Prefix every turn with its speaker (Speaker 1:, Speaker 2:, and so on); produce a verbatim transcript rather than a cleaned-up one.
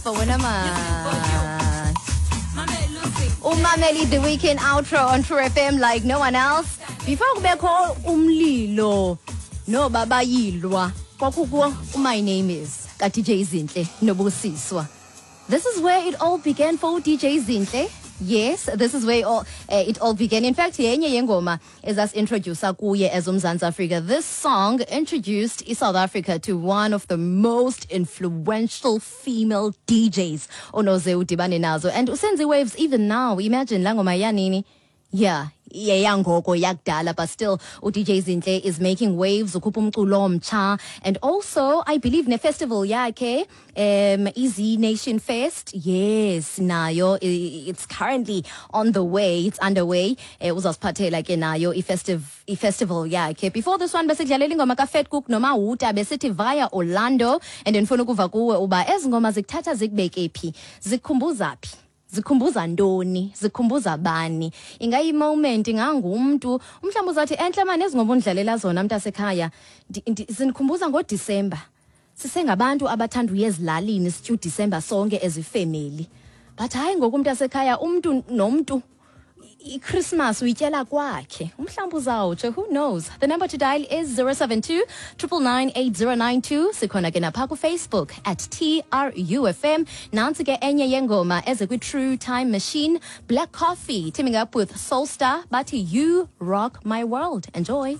Speaker 1: apha wena man. Umameli The Weekend outro on True F M like no one else. Before kubekho umlilo no babayilwa, kwakukho My Name Is ka D J Zinhle noBusiswa. This is where it all began for D J Zinhle. Yes, this is where it all, uh, it all began. In fact, yenye yengoma ezasi-introduce kuye as uMzantsi Afrika. This song introduced South Africa to one of the most influential female D Js onoze udibane nazo. And usenza waves even now. Imagine, la ngoma yanini? Yeah, yeyangoko, yakudala, but still u D J Zinhle is making waves, ukhupha umculo omtsha, and also I believe ne festival yakhe, um Easy Nation Fest, yes, nayo it's currently on the way, it's underway. eh uzasiphathela ke nayo i-festive i-festival yakhe. Before this one besikudlalela ingoma kaFatcook noMahuta, besithi Via Orlando, and ndifuna ukuva kuwe uba ezi ngoma zikuthatha zikubeke phi, zikukhumbuza phi, zikhumbuza ntoni, zikhumbuza bani, ingayi-moment, ingangumntu. Umhlawumbi uzathi, "Entle mani ezi ngoma undidlalela zona, mntasekhaya, zindikhumbuza ngoDisemba sisengabantu abathanda uya ezilalini, sitya uDisemba sonke ezifemeli." But hayi, ngoku umntu asekhaya, umntu nomntu iChristmas uyityela kwakhe. Umhlawumbi uzawutsho, who knows? The number to dial is zero seven two nine nine nine eight zero nine two. Sikhona ke napha kuFacebook at T R U F M. Nantsi ke enye yengoma eze kwi-True Time Machine, Black Coffee teaming up with Soulstar, bathi You Rock My World. Enjoy.